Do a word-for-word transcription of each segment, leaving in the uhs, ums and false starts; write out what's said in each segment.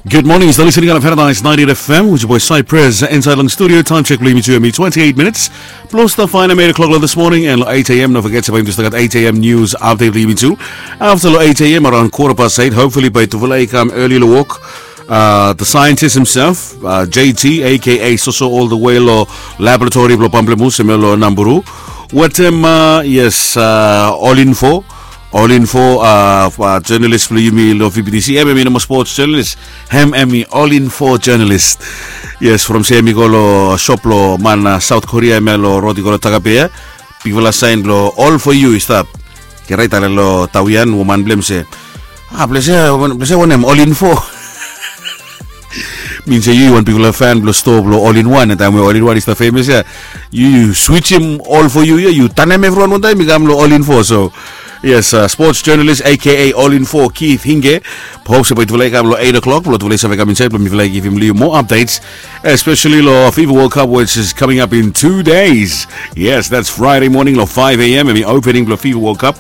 Good morning, yu stap listening on Paradise ninety-eight F M with your boy Cypress inside long studio. Time check blong yumi tu hemi twenty-eight minutes. Blong stap faenem eight o'clock long this morning and long eight a.m. No forget se bae yumi tu stap gat eight a.m. news update blong yumi tu. After long eight a.m. around quarter past eight, hopefully bae tufala i kam early long wok. Uh, the scientist himself, uh, J T, A K A Soso, all the way long laboratory blong Pamplemousse, hemia long Namburu. Wetem, uh, yes, uh, All Info, All Info, uh, uh, journalist blong yumi long V B T C, hemia i no moa sports journalist, hemia i All Info journalist. Yes, from se hemi go long shop blong man, uh, South Korea, hemia long rod i go long Tagapea. Bigfala saen blong All for You i stap. Ke raet ale long tawian, woman blong hem se, ah, blong se, blong se wanem, All Info. Min se yu wan bigfala fan blong stoa blong All in One, taem we All in One i stap famous ia. Yu, yu switchem All for You ia, yu tanem evriwan wantaem i kam long All Info. So yes, uh, sports journalist A K A All Info, Keith Hinge. Hop se bae tufala i kam long eight o'clock blong tufala i save kam insaed blong mifala i givim long yu moa updates, especially long FIFA World Cup, which is coming up in two days. Yes, that's Friday morning long five a.m. hemi opening blong FIFA World Cup.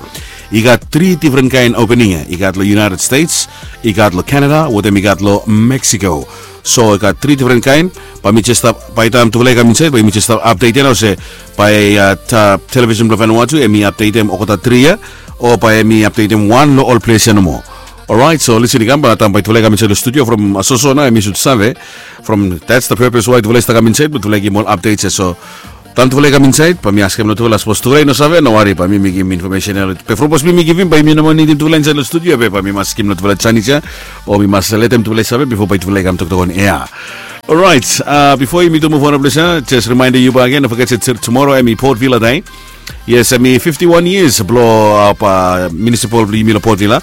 I gat tri difren kaen opening ia. I gat long United States, i gat long Canada, wetem i gat long Mexico. So i gat tri difren kaen. Bae mi jes stap, bae taem tufala i kam insaed bae mi jes stap update ia nao se bae, uh, television blong Vanuatu hemi updatem olgeta tri ia, o bae hemi updatem wan long ol ples ia nomo. Alright, so listen, i kam bae taem bae tufala i kam insaed long studio from, uh, Soso nao hemi sud save. From, that's the purpose why tufala i stap kam insaed, bae tufala i givim ol updates ia. So taem tufala i kam insaed bae mi askem long tufala, sapos tufala i no save, no wari, bae mi mekem information ia. Be from sapos mi givim, bae mi no moa nidim tufala insaed long studio, be bae mi mas givim long tufala janis ia, o mi mas letem tufala i save bifo bae tufala i kam toktok on air. Alright, uh, bifo yumi tu muv on long ples ia, jes rimaendem yu bakegen, no foget se tumora hemi Port Vila Day. Yes, hemi fifty-one years blong, uh, municipal blong yumi long Port Vila.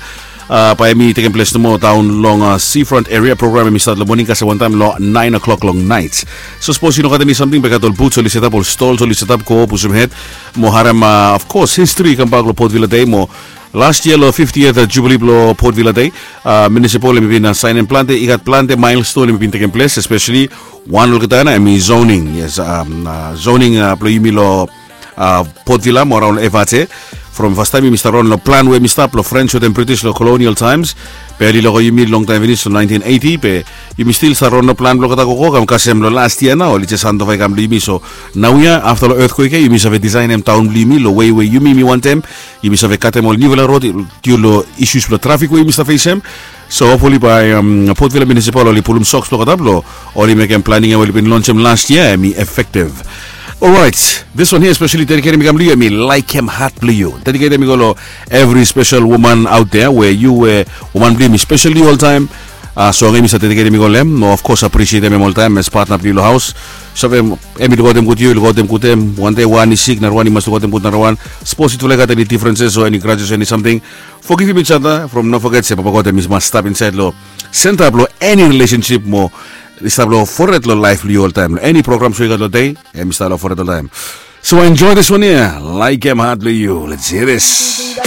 Uh, bae hemi tekem ples nomo daon long, uh, seafront area. Program hemi stat long moning, kasem wantaem long nine o'clock long naet. So sapos yu no gat eni samting, be gat ol booths oli setap, ol stalls oli setap, go pushum hed mo harem, uh, of course, history i kambak long Port Vila Day mo last year long fiftieth, uh, jubilee blong Port Vila Day, uh, municipal hemi bin, uh, saenem plante, i gat plante milestone hemi bin tekem ples, especially wan olgeta ia nao hemi zoning. Yes, um, uh, zoning, uh, blong yumi long, uh, Port Vila mo araon long F R T. From fastaem yumi stap raon long plan we hemi stap long French wetem British long colonial times. Be oli loko yumi longtaem finis long nineteen eighty, be yumi stil stap raon long plan blong olgeta gogo, kam kasem long last year nao oli jes handova i kam long yumi. So naoia afta long earthquake ia yumi save designem taon blong yumi long wei we yumi yumi wantem. Yumi save katem ol niufala rod due long issues blong traffic we yumi stap fesem. So hopefully bae, um, Port Vila Municipal oli pulum soks blong olgeta blong oli mekem planning ia we oli bin lonsem last year hemi effective. Alright, this one here especially dediketem i kam long yu, hemi Laekem Hat Blong Yu. Dediketem i go long evri spesel woman out there we yu we woman blong yumi spesel long yu oltaem. Uh, so hemi save dediketem i go long hem, mo of course aprisietem hem oltaem as partner blong yu long haos. Save, hemi lukaotem gud yu, lukaotem gud hem. Wan dei wan i sik, narawan i mas lukaotem gud narawan. Sapos yutufala i gat eni differences o eni grudges o eni samting, forgivim each other, from no foget se Papa God hemi mas stap insaed long senta blong eni relationship mo i stap long fored long laef blong yu oltaem. Long eni programs we yu gat long dei, hemi stap long fored oltaem. So enjoy this one here, Laekem Hat Blong Yu. Let's hear this.